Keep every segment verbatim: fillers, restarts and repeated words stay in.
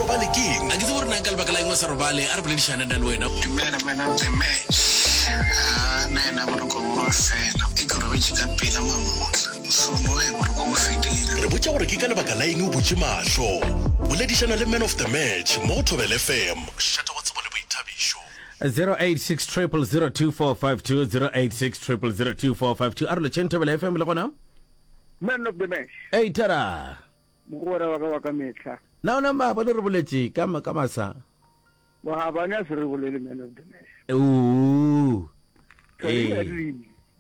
robale keng? A ke tsebe gore na ka lebaka la eng o sa robale, a re boledišane nna le wena. Dumela man of the match. Haa nna yena boroko bo a fela. E ke robetše ka pela mamotla. Mošomo ge boroko bo fedile. Re botša gore ke ka lebaka la eng o butše mahlo. Boledišana le man of the match mo go Thobela F M, mošate wa tsebo le boithabišo. zero eight six triple zero two four five two zero eight six triple zero two four five two. A re lotšheng Thobela F M le gona. Man of the match. Ei thara. Mogwera wa ka wa ka mehla. Na ona maabane re boletše ka ka masa? Maabane a se re bolele, man of the match. Ooh. Ee.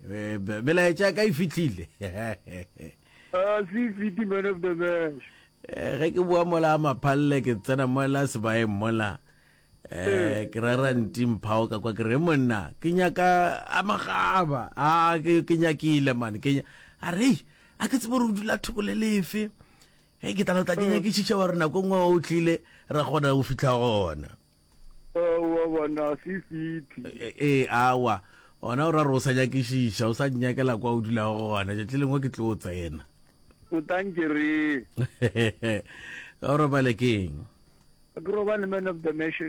Eh, melaetša ka e fihlile. Ah, se fiti, man of the match. Eh, ge ke boa mola a maphalle ke tsena mola sebaeng mola, eh ke rera nti mphao ka kwa, ke re monna ke nyaka a magaba a ke ke nyakile man, ke a re a ke tsebe gore o dula thoko le lefe ge ke tla tla ke nyakišiša wa re nako nngwe o tlile ra kgona go fihla gona. Wa bona se fiti. Ee, awa ona o ra re o sa nyakišiša, o sa nyakela kwa o dulago gona, tšatši lengwe ke tlo tsena. O tankere. O robale keng? Ke robale, man of the match,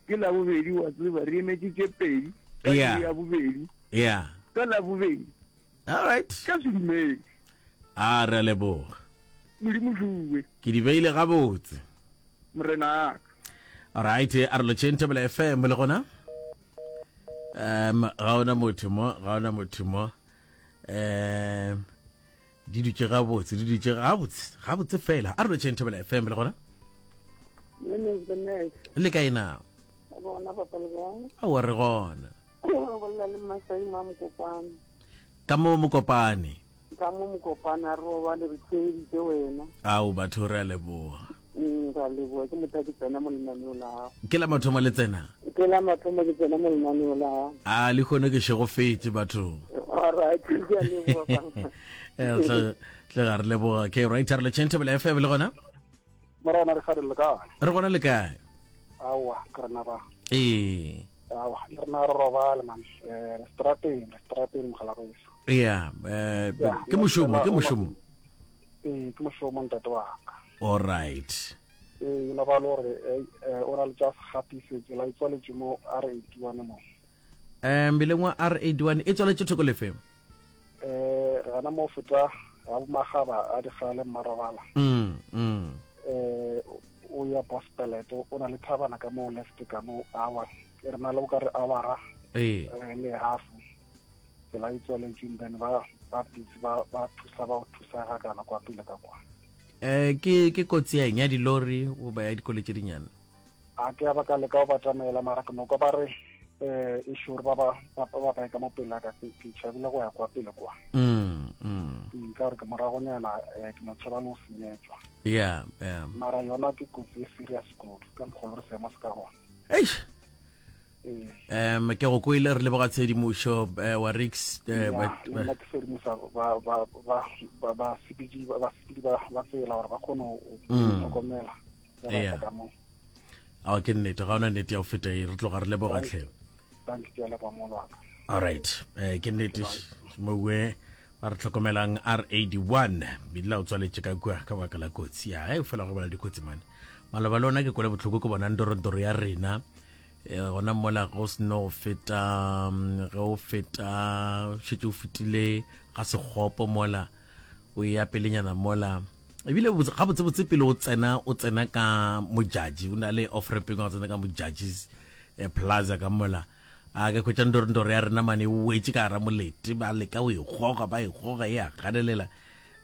ke la bobedi wa tseba re emetše tše pedi ka Yeah. ya bobedi yeah ka la bobedi. All right. Ka sedumedi. A re a leboga. Modimo fuwe. Ke di beile gabotse. Morena aka. Alright, a re lotšheng Thobela F M le gona. um ga ona motho mo, ga ona motho mo. um di dutše gabotse, di dutše gabotse gabotse fela. A re lotšheng Thobela F M le gona. Man of the match. Le kae na? Bona papa, le kae? Aowa, re gona. Re bolela le Masai ma Mokopane. Ka mo Mokopane. Ka mo Mokopane, a re robale, re theeditše wena. Ao batho, re a leboga. Mm, ra leboga, ke motho a ke tsena mo lenaneo la gago. Ke la mathomo le tsena? Ke la mathomo ke tsena mo lenaneo la gago. A le kgone ke šegofetše batho. Alright, ke a leboga, papa. Eh, tle tle ga re leboga. Okay, right, a re lotšheng Thobela F M le gona. Morena re gare le kae? Re gona, le kae? Aowa, ke rena ba. Ee. Aowa, le rena re robale man. Eh, re strateng, re strateng mogala geso. Ya, eh Ya, ke mošomo, ke mošomo. Ee, ke mošomo, ntate wa ka. All right. Ee, no ba le gore eh, eh, o na le tša segatise tsela e tswaletše mo R eighty-one mo. um mmileng wa R eighty-one e tswaletše thoko lefe? Eh, re gana mo feta ga bomagaba a digale mmarobala. mm mm Eh, o ya Bospelet, o na le thabana ka mo left ka mo awa. Re na le o ka re awara ee eh, le half. Tsela e tswaletše, then ba ba busy ba ba thusa ba o thusa ga kana kwa pele ka kwa. eh ke ke kotsi ya eng, ya dilori goba ya dikoloi tše dinyane? A ke a ba ka leka go batamela, mara ke no kwa ba re eh e sure ba ba ba ba ba ka mo pele ka ke ke tšhabile go ya kwa pele kwa. mm mm Mm, ka gore ke moragonyana, eh, ke no tšhaba le go senyetswa. ya ya Mara yona ke kotsi e serious kudu ka mokgwa re seemo se ka gona. Eish. Ee. um ke go kwele, re leboga tshedimošo, eh, wa rix eh, Ya, ba- le nna ke sedimosa ba ba ba ba basepedi ba basepedi ba ba tsela gore ba kgone go Mm. tlhokomela ge ba Yeah. tla ka moo. Ao, ke nnete, ga ona nnete ya go feta e, re tloga re leboga tlhe. Thank you, ke a leboga molo wa ka. Alright, eh, ke nnete mowe ba re tlhokomelang R eighty-one bidila o tswaletše ka kua ka baka la kotsi ya ge fela go bala dikotsi mane maloba le ona. Ke kwele bohloko ke bona ndorondoro ya rena, eh, gona mola go seno go feta, mm, ge o feta šetse o fetile ga sekgopo mola o ya pelenyana mola, ebile botse- gabotsebotse pele o tsena o tsena ka Mojaji, o na le off ramping wa go tsena ka Mojaji eh, Plaza ka mola, a ke hwetša ndorondoro ya rena mane e wetse ka gara molete, ba leka o e goga, ba e goga, e a ganelela.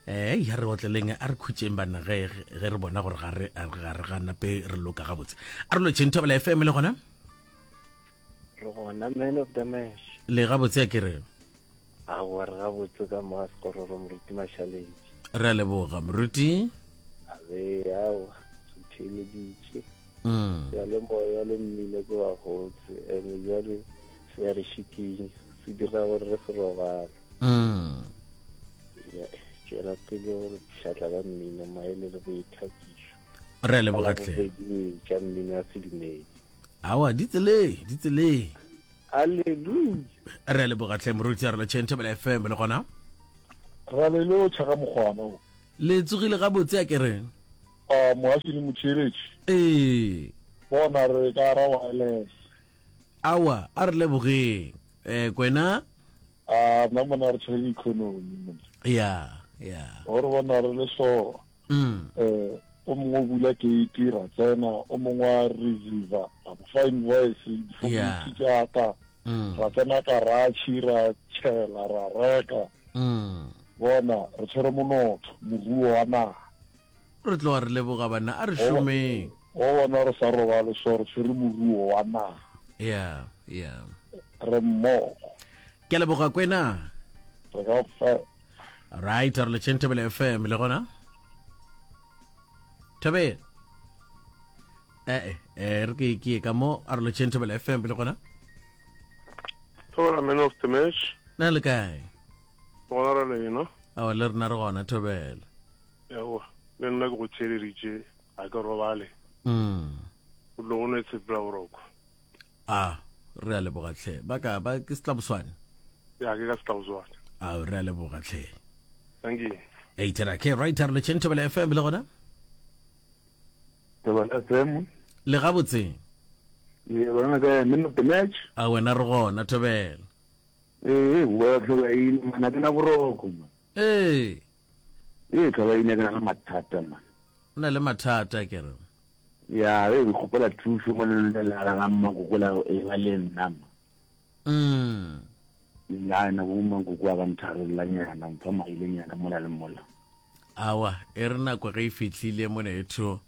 um ya re otleleng, a re khutšeng banna ge ge re bona gore ga re ga re ga nape re loka gabotse. A re lotšheng Thobela F M le gona. Re gona, man of the match. Le gabotse ya ke re? Aowa, re gabotse ka mo Sekororo, moruti Mašaledi. Re a leboga, moruti. Abe aowa, re theeleditše. Mm. Seyalemoya le mmino ke wa gotse, ene jale se ya re šikinya, se dira gore re se robale. Mm. Ya, tšwela pele gore pšhatla ka mmino, maele le boithakišo. Re a leboga tlhe. Bobedi tša mmino ya sedumedi. Aowa, di tseleng, di tseleng. Alleluia. Re a leboga tlhe, moruti. A re lotšheng Thobela F M le gona. Ra le lotšha ka mokgwana o. Le tsogile gabotse ya ke re? A moaši le motheeletši. Ee. Bona re ka ra wireless. Awa, a re lebogeng. Eh, Kwena? A nna mona re tshwere economy mona. Ya, ya. Gore bona re le so. Mm. Eh, o mongwe o bula gate ra tsena, o mongwe wa receiver, a mo fa invoice, Yeah. difounu tša ka. Mm. Ra tsena garage ra tšhela ra reka. Mm. Bona re tshwere monotho, moruo wa naga. Re tloga re leboga banna, a re šomeng. O bona re sa robale so re tshwere moruo wa naga. Ya, ya. Re mmogo. Ke a leboga Kwena. Re ka fa. Right, re letšeng Thobela F M le gona. Thobela. Eh, eh, re ke ke ka mo a re letšeng Thobela F M le gona. Thobela man of the match. Na le kae? Gona re lena. Awa le rena re gona Thobela. Yawa, le nna ke go theeleditše, ga ke robale. Mm. O tlo go no tshepela boroko. Ah, re a leboga tlhe. Ba ka ba ke Setlaboswane. Ya ke ka Setlaboswane. Ah, re a leboga tlhe. Thank you. Eight ra ke right re letšeng Thobela F M le gona. Thobela F M. Le gabotse. Ye bona ka man of the match. A wena re gona Thobela. Eh, wa tlhoba ine mana ke na boroko man. Eh. Eh, tlhoba ine ke na le mathata man. O na le mathata ke re. Ya, e ke kgopela thuso mo le la ga mmakoko la e ba le nna ma. Mm. Ya na bo mmakoko a ba ntharella nyana, mpha maile nyana mola le mola. Awa, e re nako ge e fihlile monetho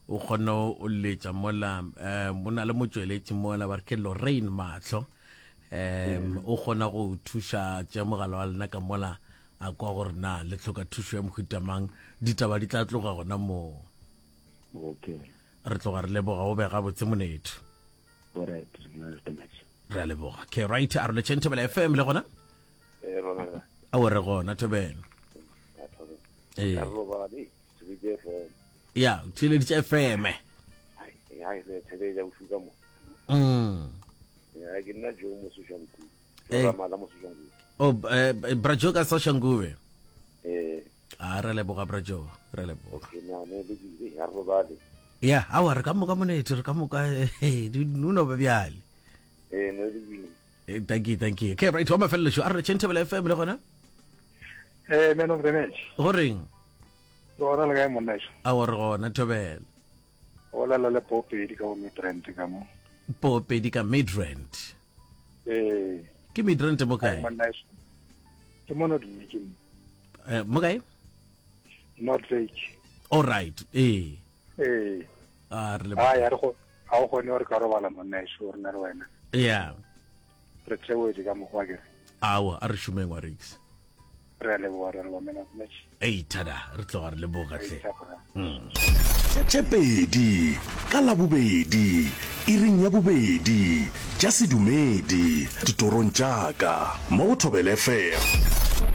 o kgone o letša mola um o na le motsweletši mola ba re ke Lorraine Mahlo um o kgona go thuša tša mogala wa lena ka mola a kwa gore na le hloka thušo ya mohuta mang, ditaba di tla tloga gona moo. Okay. Re tloga re leboga o be gabotse monetho. Alright, man of the match. Re a leboga. Okay, right, a re letšeng Thobela F M le gona? Eh, rona. Aowa re gona Thobela. Eh. Re robale, Thobela F M. Ya, theeleditše F M. Ai, ai, re theeleditše bosigo ka mo. Mm. Ya, ke nna Joe Mososhankuwe. Eh. Joe Ramala Mososhankuwe. Oh, eh, Bra Joe ka Soshanguve. Eh. A re leboga Bra Joe, re leboga. Okay, na ne le ke ya robale. Ya, aowa re ka moka monetho, re ka moka, eh, di no ba bjale. Eh, ne le ke. Eh, thank you, thank you. Okay, right, wa mafelelo a re letšeng Thobela F M le gona? Eh, man of the match. Go reng? Re gona le kae monna ešo? Aowa re gona Thobela. O lela le Popedi ka go Midrand ka mo. Popedi ka Midrand. Eh. Ke Midrand mo kae? Monna ešo. Ke mo North Lake mo. Eh, mo kae? North Lake. All right, eh. Eh. A re le. Ah, ya re go ga o kgone gore ka robala monna ešo re na le wena. Yeah. Re theoetse ka mokgwa ke re. Aowa, a re šomeng wa Rix. Re a leboga, re a leboga man of the match. Ei, thada, re tloga re leboga tlhe. Mm. Tše pedi ka Labobedi, iring ya bobedi, tša sedumedi, ditorong tša ka, mo go Thobela F M.